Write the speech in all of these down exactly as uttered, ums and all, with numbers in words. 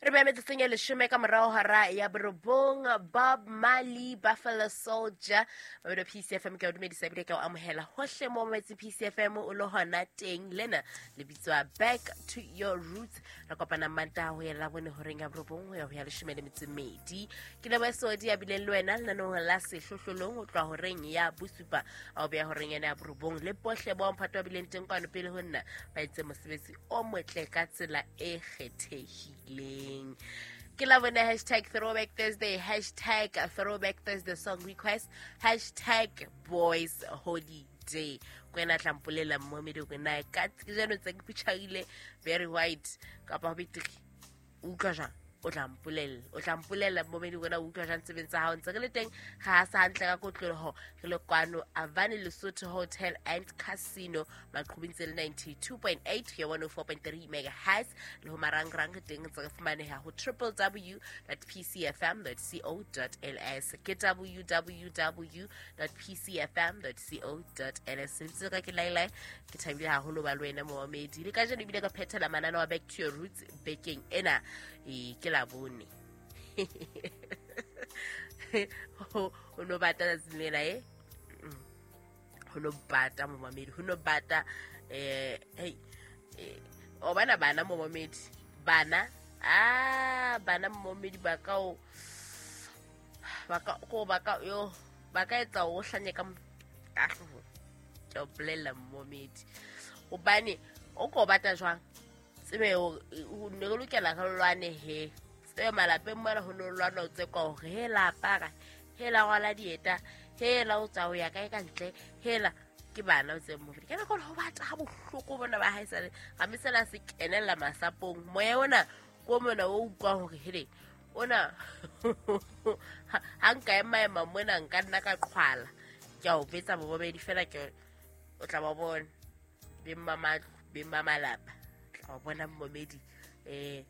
Re beha metsotsong e leshome ka morao hora ya borobong. Bob Marley, Buffalo Soldier, mabedo P C F M. Ke o dumedisa ebile ke o amohela hohle mo mametse P C F M o le hona teng. Lena le bitswa Back to Your Roots. Re kopana Mantaha ho ya Labone horeng ya borobong ho ya ho ya leshome le metso e mmedi. Ke leboha Sodi ya bileng le wena lenaneong la Sehlohlolong ho tloha horeng ya bosupa a ho beha horeng ena ya borobong. Le bohle bao mphato ba bileng teng kwano pele ho nna ba etse mosebetsi o motle ka tsela e kgethehileng. Ke la bone hashtag Throwback Thursday, hashtag Throwback Thursday song request, hashtag Boys Holiday. Kwena tla mpolela momedi o na ka tsejano tse ke putshagile very white kapa betri utlwa jang o tla mpolela o tla mpolela momedi wena utlwa jang tsebeng tsa hao ntse re le teng ga sa hantle ka kotloloho re le kwano Avani Lesotho Hotel and Casino maqhubing tse le ninety-two point eight ya one oh four point three megahertz le ho marangrang re teng ntse re fumaneha ho w w w dot p c f m dot co dot l s ke w w w dot p c f m dot co dot l s. Ntse ka ke lailai ke thabile haholo ba le wena momedi le kajeno ebile ka phethela manana wa Back to Your Roots bekeng ena e ke la bone o no bata tsatsing lena e ho no bata momamedi ho no bata eh hey o bana bana momamedi bana ah bana momamedi ba ka o ba ka go ba ka yo ba ka etsa o hlanye ka ka ke o bolela momamedi hobane o ko bata jwang tsebe o ne re lokela re lwane he tsebe malapeng mona ho no lwana o tse kwa hore hela apara hela rwala dieta hela o tsa ho ya kae ka ntle hela ke bana o tse mo ke nako ho batla ha bohloko bona ba haesale ga mesela se kenella masapong moya ona ko mona o utlwa hore hele ona ha nka ema ema mona nka nna ka qhwala ke a o betsa bobedi fela ke o tla ba bona be mma be mma malapa o bona momedi eh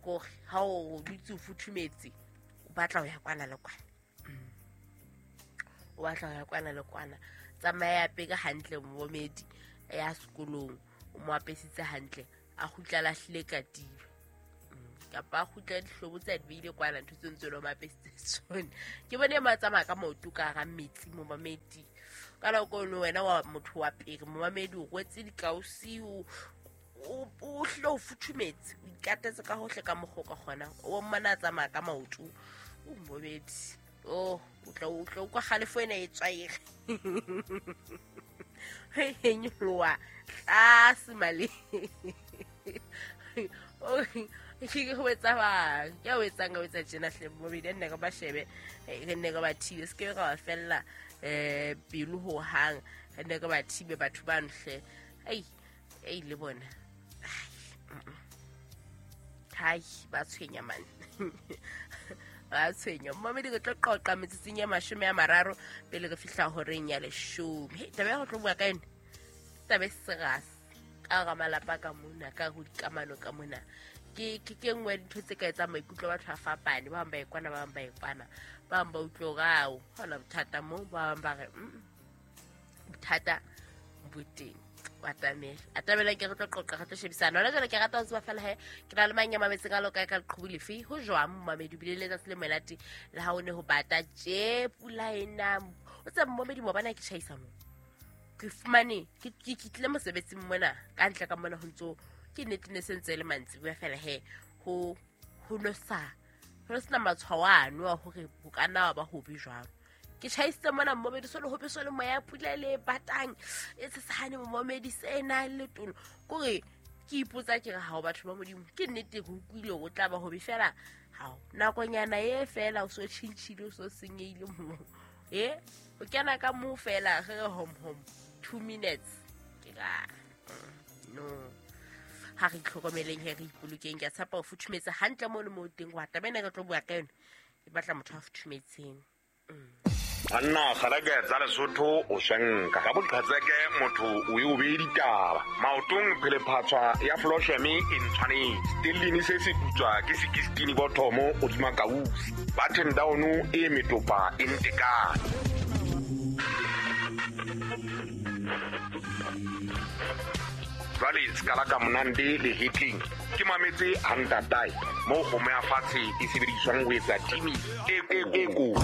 go ha o dutse o futhumetse o batla ho ya kwana le kwana o batla ho ya kwana le kwana tsamaya peka hantle momedi ya sekolong o mo apesitse hantle a kgutla lahlile katiba kapa a kgutla dihlobo tsa di beile kwana ntho tse ntse lo mo apesitse tsone ke bone ma tsamaya ka maoto ka ga metsi momamedi ka nako eno wena wa motho wa pele momamedi o rwetse dikausi o o hle o futhumetse o ikatetse ka hohle ka mokgwa ka kgona o mmana tsamaya ka maoto o momedi o o tla o tla kwa kgalefo ena e tswaege he nyoloha tlase male o ke go etsa ba ke o etsang o etsa tjena hle momedi nne ka ba shebe re nne ka ba thibe se ke ka ba fella eh pelo ho hang re nne ka ba thibe batho ba nhle ai ei le bona hai ba tshwenya man ba tshwenya momedi ke tlo qoqa metsotsong ya mashome a mararo pele re fihla horeng ya leshome. Hei taba ya go tlo bua ka yone taba e serious ka ga malapa ka mona ka go dikamano ka mona ke ke ke nngwe ya dintho tse ka etsang maikutlo a batho a fapane ba bang ba e kwana ba bang ba e kwana ba bang ba utlwe hore ao ha hona bothata mo ba bang ba re bothata bo teng atamela atamela ke re tlo qoqa re tlo shebisana hona jwale ke rata ho tseba fela he ke na le mang ya mametseng a lokae ka leqhubu lefe ho jwang momamedi o bile le letsatsi le monate le ha o ne ho bata tje pula ena o tsebe momedi mo bana ke tjhaisa mo ke fumane ke ke tlile mosebetsing mona ka ntle ka mona ho ntso ke nnete ne sentse le mantsibuya fela he ho ho no sa ho no sena matshwao ano a hore ho ka nna wa ba hobe jwang ke tjhaisitse mona momedi so le hobe so le moya pula le batang e tshesane momedi sena le tono kore ke ipotsa ke re ha o batho ba modimo ke nnete go utlwile o tla ba hobe fela ha nakonyana e fela o so tjhintjhile o so senyehile mo e o kena ka mo fela re re hom hom two minutes ke ka no ha re itlhokomeleng he re ipolokeng ke a tshepa o futhumetse hantle mo le mo teng wa taba ena re tlo bua ka yone e batla motho a futhumetseng. Banna kgaleke tsa Lesotho o shenka ka boqhetseke motho o e o beye ditaba maotong phelephatswa ya flosheme e ntshwanetse stellini se se putswa ke sekistini bothomo hodima kausi button down e metopa e ntekane. Jwale skala ka monande le hitling. Ke mametse hantatae mo kgomo ya fatshe e sebediswang ho etsa timi e e ko.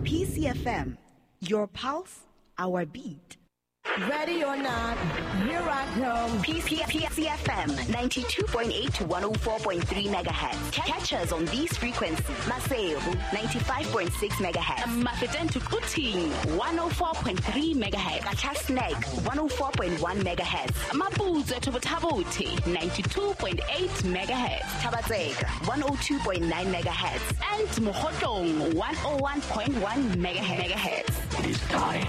P C F M, your pulse, our beat. Ready or not, here I come. P C F M ninety-two point eight to one oh four point three megahertz. Catch us on these frequencies. Maseru ninety-five point six megahertz. Mafeteng to Quthing one oh four point three megahertz. Qacha's Nek one oh four point one megahertz. Maputswe to Botha-Bothe ninety-two point eight megahertz. Thaba-Tseka one oh two point nine megahertz. And Mokhotlong one oh one point one megahertz. It is time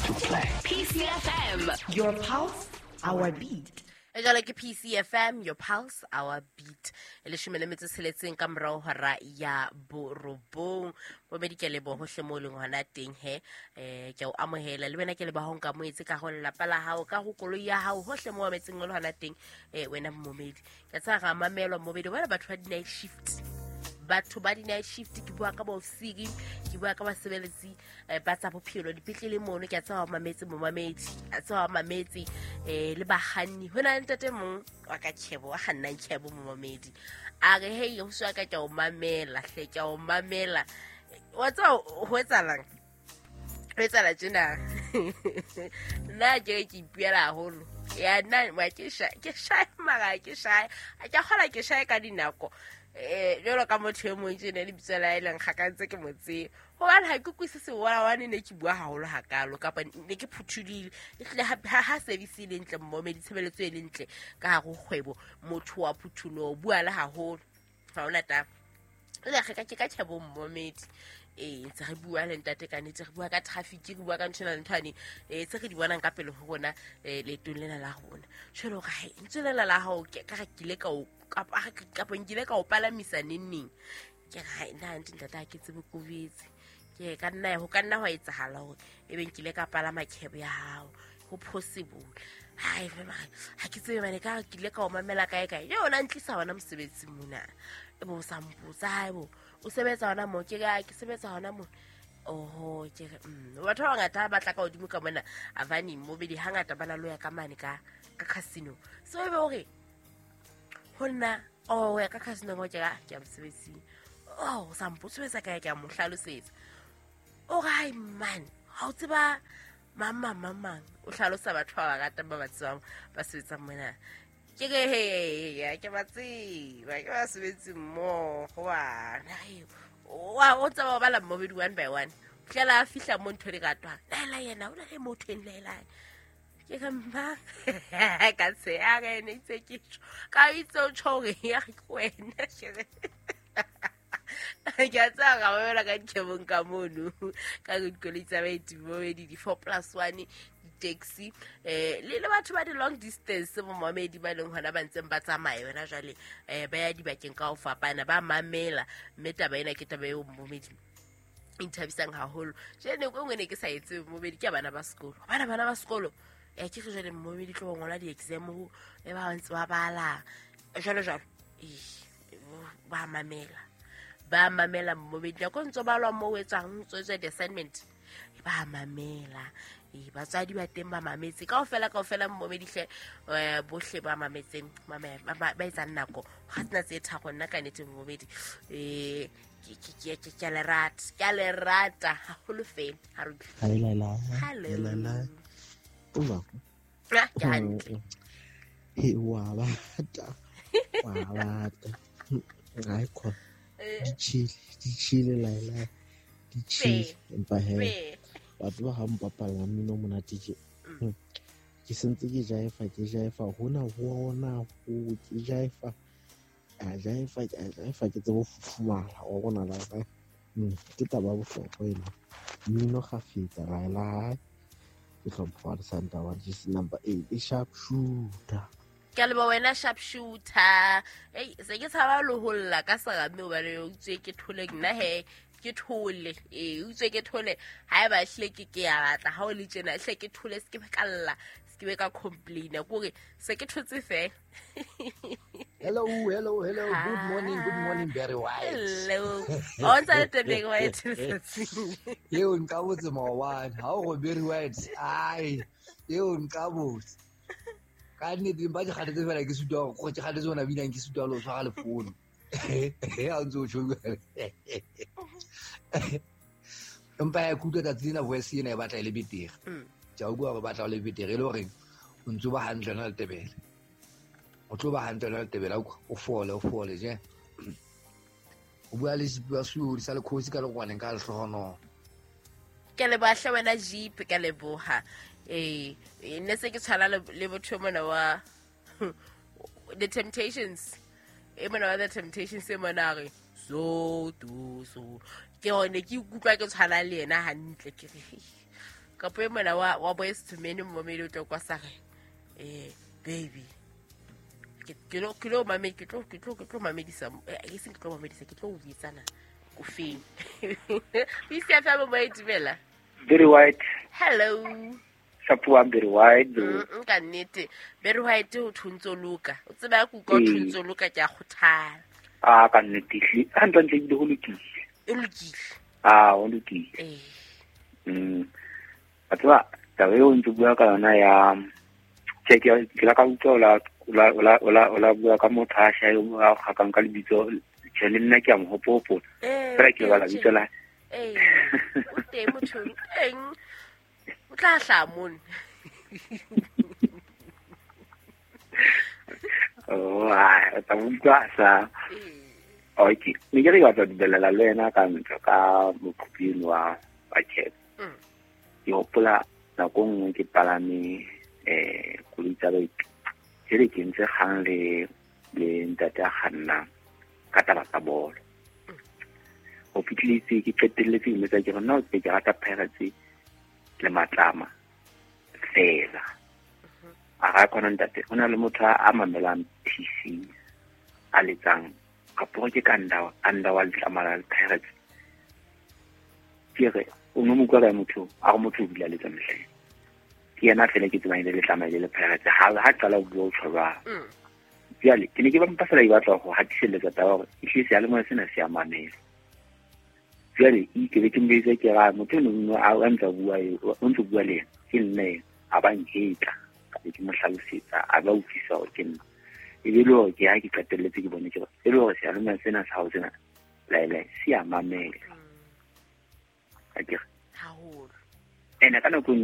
to play. P C F M, your pulse, our beat. Jwale ke P C F M, your pulse, our beat. Leshome le metso tsheletseng ka morao hora ya borobong. Bomedi ke leboha hohle moo leng hona teng he. Eh ke o amohela le wena ke leboha ho nka moetse ka ho lelapa la hao, ka ho koloi ya hao, hohle moo metseng o le hona teng, eh wena momedi. Ke tsa ga mamelwa momedi, wena batho ba di-night shift. Batho ba di-night shift, ke bua ka bofsiki, ke bua ka basebeletsi ba tsa bophelo dipetlele mono, ke a tseba mametse momamedi, a tseba mametse eh le bakganni. Ho na le ntate mong wa ka tjhebo, wa kgannang tjhebo momamedi. A re hey, ho swa ka ke o mamela, hle ke o mamela. Wa tseba ho etsahalang? Ho etsahala tjena. Nna ke ke ipuela haholo. Ya nna wa ke sha, ke sha mara ke sha. A ke kgola ke sha ka dinako. Eh jalo ka motho e mong tjena le bitso la eleng ga ka ntse ke motse hobane ha ke kwisise wala wane ne ke bua haholo hakalo kapa ne ke phuthulile ehlile ha ha service e le ntle mmomedi tshebeletso e le ntle ka hare ho kgwebo motho wa phuthulo bua le haholo ha ona taba le ga ka ke ka tjhebo mmomedi eh ntse re bua le ntate ka nete re bua ka traffic re bua ka ntho ena le ntho ane eh tse re di bonang ka pele ho rona eh leetong lena la rona jwalo ka he ntse lena la hao ke ka re kile ka o kapa kapa nkile ka o palamisa neng ke re nna ntate ntate ha ke tsebe kobetse ke ka nna ho ka nna hwa etsahala hore ebe nkile ka palama cab ya hao ho possible hai ha ke tsebe mane ka kile ka o mamela kae kae yona ntlisa hona mosebetsing mona e bo sa mpotsa hai bo o sebetsa hona mo ke ka ke sebetsa hona mo oho ke re batho ba bangata ba tla ka hodimo ka mona avani mobedi hangata ba na lo ya ka mane ka ka casino so ebe hore ho nna oh ya ka casino mo ke ka ke mosebetsing oh sa mpotsa sebetsa kae ke a mo hlalosetsa o re hai man ha o tseba mama mama o hlalosa batho ba ratang ba ba tsebang ba sebetsang mona ke re he ya ke ba tseba ke ba sebetse mmoho bana wa o tseba ba la mmobedi one by one fihlela a fihla mo ntho di ratwang laela yena o na le motho e laelang ke re mma ka se a re ne itse ke tjho ka itse o tjho hore ya ke wena ke re ke a tseba ka mamela ka dikebong ka mono ka dikoloi tsa baeti mmobedi di-four plus one taxi eh le le batho ba di long distance momamedi ba leng hona ba ntseng ba tsamaya wena jwale eh ba ya dibakeng ka ho fapana ba mamela mme taba ena ke taba eo momamedi inthabisang haholo jene nako e nngwe ne ke sa etse momamedi ke bana ba sekolo bana bana ba sekolo eh ke re jwale momamedi tlo ngola di-exam ho e ba ntse ba bala jwalo jwalo eh ba mamela ba mamela momamedi nako ntse ba lwa mo etsang ntse tswe di-assignment ba mamela e batswadi ba teng ba mametse kaofela kaofela mmomedi hle bohle ba mametseng ba etsang nako ga tsena tse tharo nna ka nnete mmomedi eh ke ke ke le rata ke le rata haholo fela ha re hello o ke hantle he wa bata wa bata ai ko di chile di chile laela di chile empa he batho ba ha mpapalla mmino monate tje ke sentse ke jaifa ke jaifa hona hona ho ke jaifa a jaifa a jaifa ke tsebo fufumala wa bona la ka ke taba bohlokwa ena mmino kgafetsa laela ke hlompha le Santa wa just number eight e sharp shooter ke le ba wena sharp shooter ei se ke tshaba le ho lla ka serame hobane o tswe ke thole nna he ke thole eh utswe ke thole ha eba hle ke ke ya batla ha o le tjena hle ke thole se ke ka lla se ke be ka complaina kore se ke thotse fela. Hello hello hello good morning good morning Barry White. Hello o ntse le teng White eo nka botse maobane ha o go Barry White ai eo nka botse Ka nnete ba ke kgathetse fela ke sutwa go ke kgathetse ona binang ke sutwa lo tshwara le phone. Ha ntse o tjho. Empa ya kutlwa tsatsi lena voice ena e batla e le betere. Ke a utlwa hore batla le betere e le hore o ntso ba hantle na le tebele. O tlo ba hantle na le tebele o fole o fole je. O bua le Jeep wa Suri sa le khosi ka lekwaneng ka lehlohono. Ke le bahle wena Jeep ka leboha. Eh ne se ke tshwana le botho mona wa The Temptations. E mona wa The Temptations e mona re so do so. Ke hone ke ikutlwa ke tshwana le yena hantle ke re. Kapo e mona wa wa Boys to Men momedi o tlo kwa sa re eh baby ke lo ke lo mame ke tlo ke tlo ke tlo mamedisa e seng ke tlo mamedisa ke tlo o buitsana ko feng B C F M mo itumela Very White. Hello. Shapuwa Very White. Mm ka nnete Very White o thuntso loka o tseba ku ka thuntso loka ke a khothala. Ah ka nnete ha ntse ntse go lokile. E lokile. Ah o lokile. Eh. Mm. Atwa taba eo ntse bua ka yona ya ke ke la ka utlwa la ola ola ola ola bua ka motho a shae o kgakang ka lebitso tjhe le nna ke a mo hopola fela ke bala lebitso la eh o teng motho teng o tla hla mone oh a ta utlwa sa okay ne ke re batla dumelela le wena ka ntho ka moqhuping wa wa chat ke hopola nako nngwe ke palame eh koloi tsa baeti jere ke ntse kgang le le ntate a kgannang ka taba tsa bolo. Ho fihletse ke qetelletse ke mmetsa ke re nna ke ke rata Pirates le Matlama fela. A ra khona ntate o na le motho a mamelang P C a letsang kapo ke ka nda a nda wa Letlama la Pirates. Ke re o no mo utlwa ka motho a re motho o bile a letsa mehleng. Ke yena fela ke tsebang le Letlama le le Pirates ha ha qala ho bua o tjho jwale ke ne ke ba mpa fela ke batla ho hatiselletsa taba hore ehlile seyalemoya sena se a mamela. Jwale e ke be ke mbetse ke ra motho eno a ntse bua o ntse bua le yena ke nna ena a ba nketla ka be ke mo hlalosetsa a ba utlwisa hore ke nna e be le hore ke ha ke qetelletse ke bone ke e le hore seyalemoya sena sa hao sena laele se a mamela. Akere haholo ene ka nako